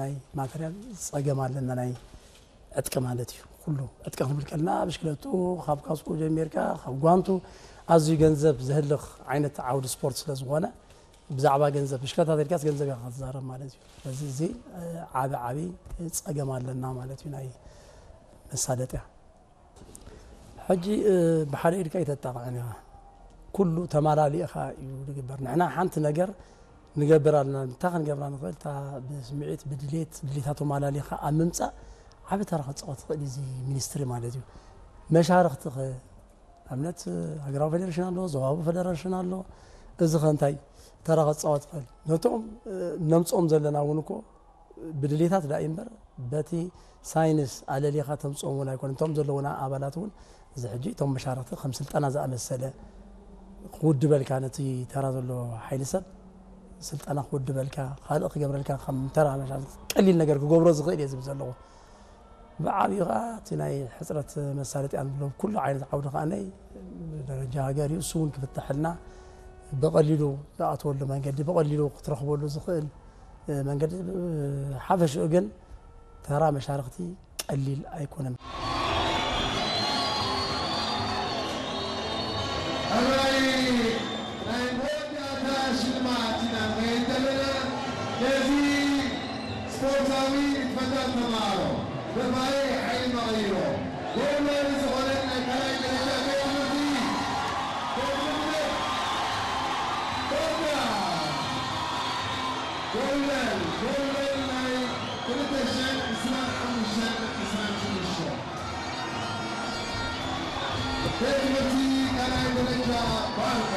ናይ ማተርያል ጸገም ኣለና፣ ናይ ዕጥቂ ማለት እዩ። ኩሉ ዕጥቂ ክንብል ከለና ብሽክለቱ፣ ካብ ካስኮ ጀሚርካ፣ ካብ ጓንቱ ኣዝዩ ገንዘብ ዘህልኽ ዓይነት ዓውዲ ስፖርት ስለ ዝኾነ፣ ብዛዕባ ገንዘብ ብሽክለታ ተልካስ ገንዘብ ኢኻ ክትዛረብ ማለት እዩ። ስለዚ እዚ ዓቢ ዓቢ ጸገም ኣለና ማለት እዩ፣ ናይ መሳለጥያ። ሕጂ ብሓደ ኢድካ ይተጣቕዕን ኢኻ፣ ኩሉ ተማላሊእኻ እዩ ዝግበር። ንሕና ሓንቲ ነገር ንገብር ኣለና። እንታይ ክንገብራ ንኽእል? እታ ብስምዒት ብድሌት ድሌታቶም ኣላሊኻ ኣብ ምምፃእ ዓቢ ተራ ክፃወት ትኽእል እዩ እዚ ሚኒስትሪ ማለት እዩ። መሻርኽቲ ኸ ንኣብነት ሃገራዊ ፌደሬሽን ኣሎ፣ ዞባዊ ፌደሬሽን ኣሎ። እዚ ኸ እንታይ ተራ ክፃወት ይኽእል? ነቶም ነምፅኦም ዘለና እውን እኮ ብድሌታት ዳ እምበር በቲ ሳይንስ ኣለሊኻ ተምፅኦም እውን ኣይኮነ። እቶም ዘለውና ኣባላት እውን እዚ ሕጂ እቶም መሻርኽቲ ከም ስልጠና ዝኣመሰለ ክውድበልካ፣ ነቲ ተራ ዘሎ ሓይሊ ሰብ ስልጠና ክውድበልካ፣ ካልእ ክገብረልካ ከም ተራ መሻርኽቲ ቀሊል ነገር ክገብሮ ዝኽእል እየ ዝብል ዘለኹ። ብዓብዩ ከዓ እቲ ናይ ሕፅረት መሳለጥያ ንብሎ ኩሉ ዓይነት ዓውዲ ከዓ ናይ ደረጃ ሃገር እዩ። እሱ እውን ክፍተሐልና ብቐሊሉ ዝኣትወሉ መንገዲ፣ ብቐሊሉ ክትረኽበሉ ዝኽእል መንገዲ። ሓፈሽኡ ግን ተራ መሻርኽቲ ቀሊል ኣይኮነን። ሕራይ ናይ መወዳእታ ሽልማት ኢና ንኸይድ ዘለና። ነዚ ስፖርታዊ ንጥፈታት ተምሃሮ ደፋኢ ሓይሊ መቐይሮ ጎብለል ዝኾነ ናይ ካልኣይ ደረጃ ቤት ትምህርቲ፣ ቤት ትምህርቲ ዶዳ ጎብለል፣ ጎብለል ናይ ክልተ ሽሕን ዕስራን ሓሙሽተን ዕስራን ሽዱሽተን ቤት ትምህርቲ ካልኣይ ደረጃ ባርካ።